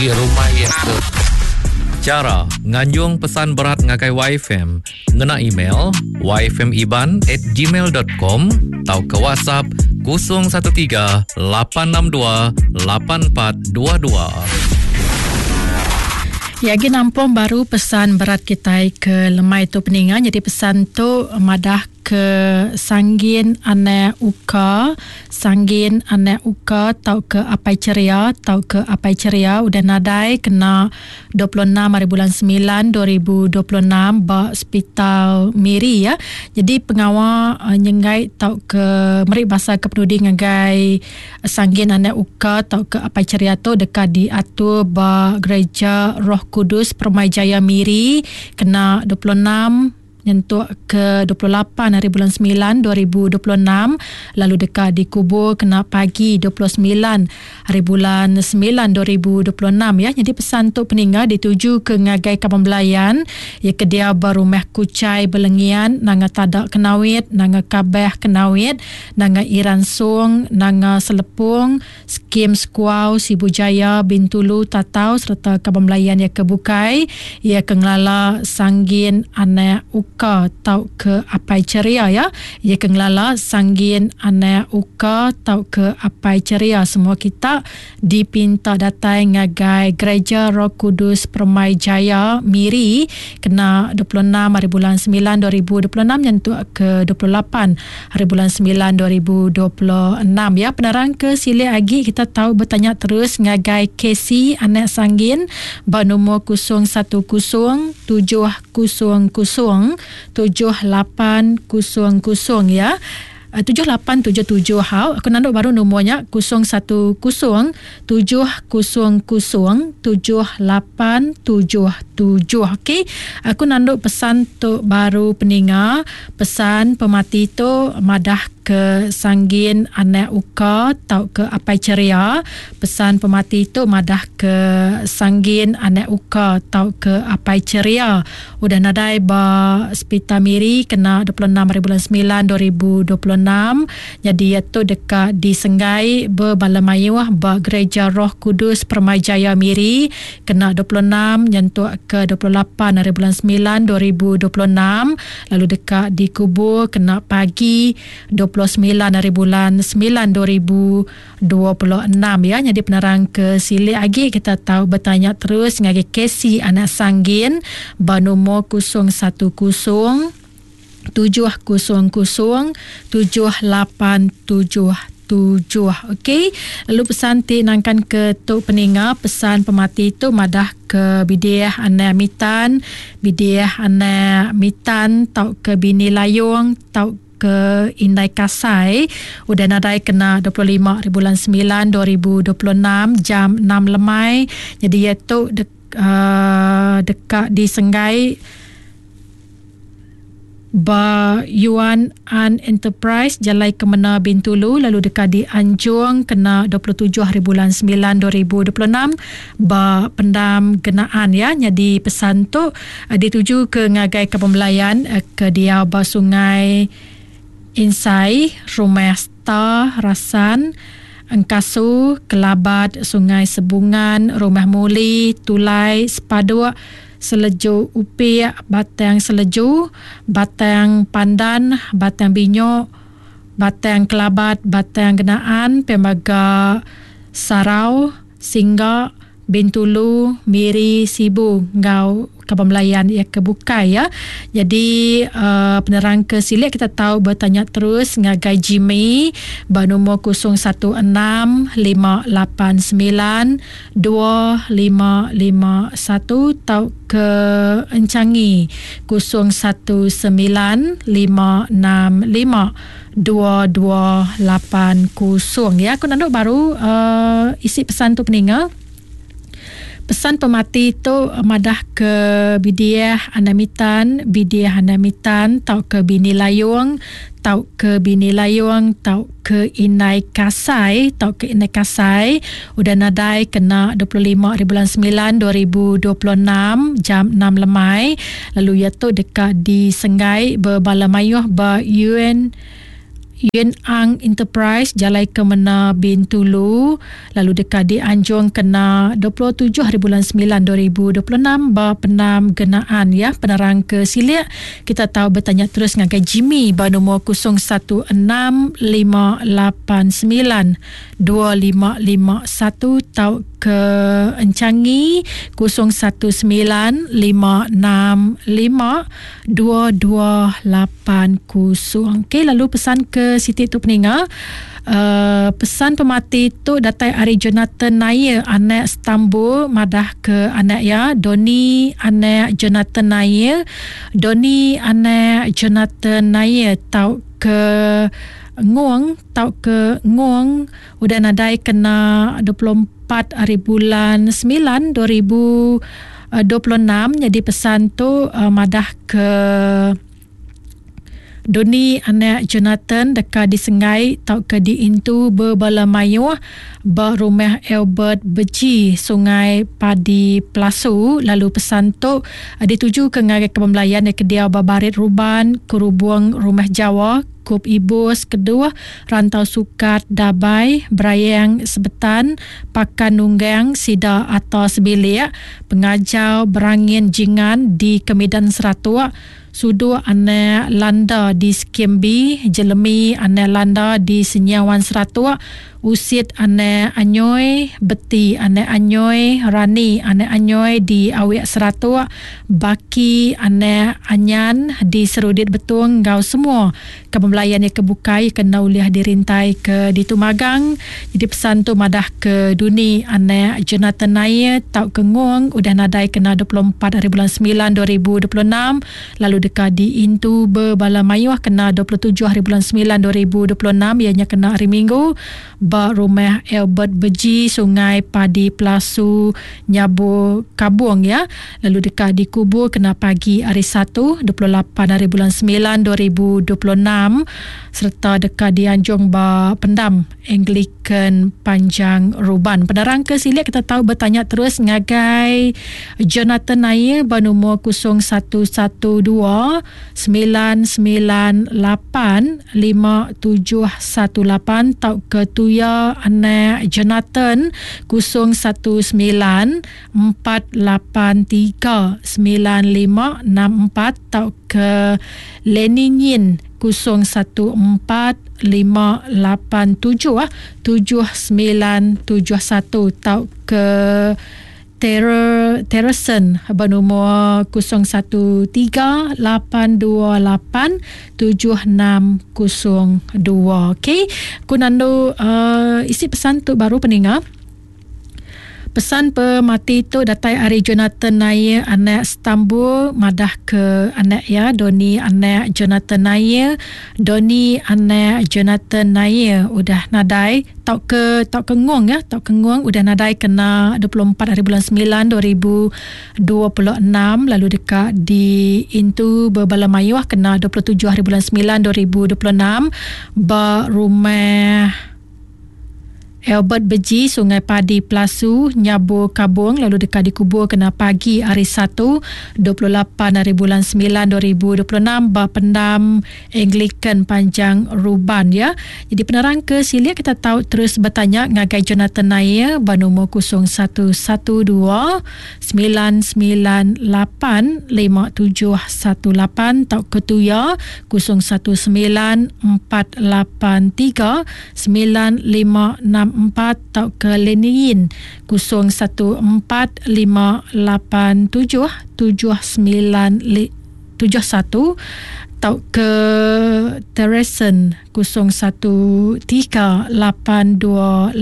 Rumah iya ke. Chara nganjung pesan berat ngagai YFM ngena email yfmiban at gmail dot com tauka WhatsApp 013 862 8422. Ya agi nampung baru pesan berat kitai ke lemai tu peninga nyadi pesan tu madah ke Sanggin anak Uka, Sanggin anak Uka tauka Apai Cheria tauka Apai Cheria udah nadai kena 26 hari bulan 9 2026 ba Sepital Miri ya. Jadi pengawa eh, nyenggai tauka meri basa ke penudi ngagai Sanggin anak Uka tauka Apai Cheria tu deka diatur ba Gereja Roh Kudus Permai Jaya Miri kena 26 nyentuk ke 28 hari bulan 9 2026 lalu deka dikubur kena pagi 29 hari bulan 9 2026 ya. Jadi pesan tu peninga dituju ke ngagai kaban belayan ya ke dia ba rumah Kuchai Belengian Nanga Tada Kenawit Nanga Kabeh Kenawit Nanga Iran Song Nanga Selepong Skim Sekuau, Sibu Jaya, Bintulu, Tatau sereta kaban belayan iya ke bukai. Iya ke ngelala Sanggin anak Uka tauka Apai Cheria iya. Iya ke ngelala Sanggin anak Uka tauka Apai Cheria. Semua kita dipinta datai ngagai Gereja Roh Kudus Permai Jaya, Miri kena 26 hari bulan 9 2026 nyentuk ke 28 Hari bulan 9 2026 ya. Penerang ke silik agi kita tau betanya terus ngagai KC anak Sanggin ba nombor 010 700 7800 ya. 7877 hau. Aku nanduk baru nombor nya 010 700 7877. Okey. Aku nanduk pesan tu baru peninga. Pesan pemati tu madah ke Sanggin anak Uka tauka Apai Cheria. Pesan pemati tu madah ke Sanggin anak Uka tauka Apai Cheria udah nadai ba Sepital Miri kena 26 hari bulan 9 2026. Nyadi iya tu deka disenggai bebala mayuh ba Gereja Roh Kudus Permai Jaya Miri kena 26 nyentuk ke 28 hari bulan 9 2026 lalu deka dikubur kena pagi 29 hari bulan 9 2026 ya. Nyadi penerang ke silik agi kita tau betanya terus ngagai Casey anak Sanggin ba nombor 010 700 7877. Okey. Lalu pesan ti nangkan ke tu peninga pesan pemati tu madah ke bidih anak mitan, bidih anak mitan tauka bini layung tauka indai kasai udah nadai kena 25 hari bulan 9 2026 jam 6 lemai. Jadi iya tu dek, uh, deka disenggai Ba Yuan An Enterprise, Jalai Kemena Bintulu lalu deka dianjung kena 27 hari bulan 9 2026 ba Pendam Genaan ya. Nyadi pesan tu eh, dituju ke ngagai Kaban Belayan eh, ke diau ba Sungai Insai, Rumah Star, Rasan, Engkasu, Kelabat, Sungai Sebungan, Rumah Muli, Tulai, Sepaduk, Seleju Upik, Batang Seleju, Batang Pandan, Batang Binyok, Batang Kelabat, Batang Genaan, pia mega Sarau, Singga, Bintulu, Miri, Sibu enggau kaban belayan iya ke bukai ya. Jadi uh, penerang ke silik kita tau bertanya terus ngagai Jimmy ba nombor 016 589 2551 tauka enchangi 019 565 2280 ya. Aku nandu baru uh, isi pesan tu peninga. Pesan pemati tu madah ke Bidiah Anak Mitan, Bidiah Anak Mitan tauka Bini Layong tauka Bini Layong tauka Indai Kasai tauka Indai Kasai udah nadai kena 25 hari bulan 9 2026 jam 6 lemai lalu iya tu deka disenggai bebala mayuh ba UN. Yuen Ang Enterprise Jalai Kemena Bintulu lalu deka dianjung kena 27 hari bulan 9 2026 ba Pendam Genaan ya. Penerang ke silik kita tau betanya terus ngagai Jimmy ba nombor 016 589 2551 tauka Enchangi 019 565 2280. Okey, lalu pesan ke siti tu peninga. Uh, pesan pemati tu datai ari Jonathan Nair anak Stambul madah ke anak ya Doni anak Jonathan Nair Doni anak Jonathan Nair tau ke Nguang tau ke Nguang udah nadai kena 24 hari bulan 9 2026. Nyadi pesan tu uh, madah ke Doni anak Jonathan deka disenggai tauka diintu bebala mayuh ba rumah Albert Beji, Sungai Padi Pelasu lalu pesan tu ditujuka ngagai kaban belayan iya ke diau ba Barit Ruban, Kerubung Rumah Jawa, Kup Ibus, Keduh, Rantau Sukat, Dabai, Berayang, Sebetan, Pakan Nunggang, Sida Ata Sebilik, Pengajar Berangin Jingan di Kemidan Seratuk, Suduk Anak Landa di Skim B, Jelemi Anak Landa di Senyawan Seratuk, Usit Anak Anyoi, Beti Anak Anyoi, Rani Anak Anyoi di Awik Seratuk, Baki Anak Anyan di Serudit Betong enggau semua kaban belayan iya ke bukai ke enda ulih dirintai ke ditu magang. Nyadi pesan tu madah ke duni anak Jonathan Nair tauka Ngong udah nadai kena 24 hari bulan semilan 2026 lalu deka diintu bebala mayuh kena 27 hari bulan semilan 2026 iya nya kena hari Minggu ba Rumah Albert Beji Sungai Padi Pelasu Nyabur Kabong iya lalu deka dikubur kena pagi hari Satu 28 hari bulan semilan 2026 sereta deka dianjung ba pendam Anglican Panjang Ruban. Penerang ke silik kita tau betanya terus ngagai Jonathan Nair ba numur 0112 998 5718 tauka tuya anak Jonathan 019 483 9564 tauka Lenny Nyin 014 587 7971 tauka Terror Terrason bernomor 013 828 7602. Okey, ku nandu uh, isi pesan tu baru peninga. Pesan pemati tu datai ari Jonathan Nair anak Stambul madah ke anak iya Doni anak Jonathan Nair. Doni anak Jonathan Nair udah nadai tauka tauka ngung ya tauka ngung udah nadai kena 24 hari bulan 9 2026 lalu deka diintu bebala mayuh kena 27 hari bulan 9 2026 ba rumah Albert Beji, Sungai Padi, Pelasu, Nyabur Kabong lalu deka dikubur kena pagi hari Satu, 28 hari bulan 9 2026 ba Pendam Anglican Panjang Ruban ya. Jadi penerang ke silik kita tau terus betanya ngagai Jonathan Nair ba nombor 0112 998 5718 tauka tuya 019 483 9564 tauka Leniyin 014 587 7971 tauka Teresen 013 828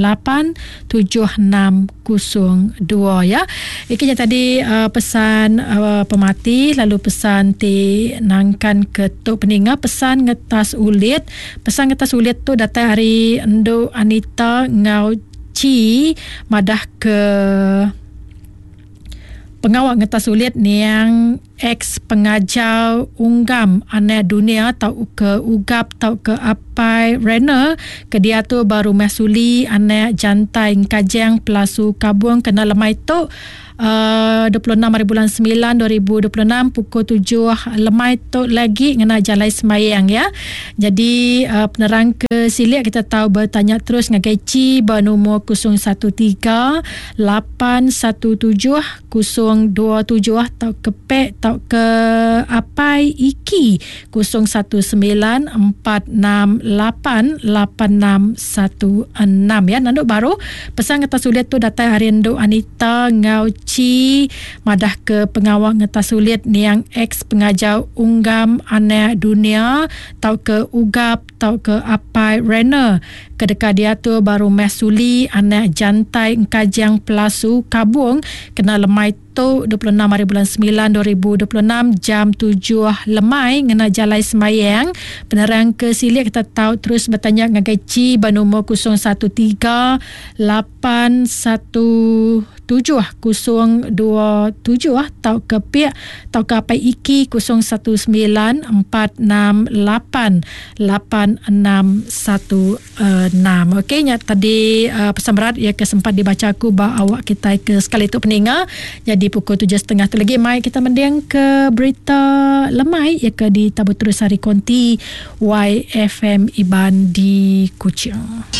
7602 ya. Iki nya tadi uh, pesan uh, pemati lalu pesan ti nangkan ke tu peninga pesan ngetas ulit. Pesan ngetas ulit tu datai ari Endu Anita enggau Chi madah ke pengawa ngetas ulit niang. Ex pengajar Unggam anak dunia tauka Ugap tauka Apai Renner ke diatu ba Rumah Suli anak Jantai Engkajang Pelasu Kabung kena lemai tu 26 hari bulan 9 2026 pukul 7 lemai tu lagi ngena jalai sembayang ya. Jadi penerang ke silik kita tau betanya terus ngagai Chi ba numur 013 817 027 tauka pek tauka apai iki 0194688616 ya. Nandu baru pesan ngetas sulit tu datai ari Endu Anita enggau Chi madah ke pengawa ngetas sulit niang ex pengajar Unggam Anak Dunia tauka Ugap tauka apai Renner ke deka diatur ba Rumah Suli anak Jantai Engkajang Pelasu Kabong kena lemai tu 26 hari bulan 9 2026 jam 7 lemai ngena jalai sembayang. Penerang ke silik kita tau terus betanya ngagai Chi ba nombor 013 81 7027 tauka piak tauka apai iki 019468 8616. Okey nya tadi uh, pesan berat ya ke sempat dibaca aku ba awak kita ke sekali tu peninga. Jadi pukul 7.30 tu lagi mai kita mending ke berita lemai ya ke di Tabu Terus Hari Konti YFM Iban di Kuching.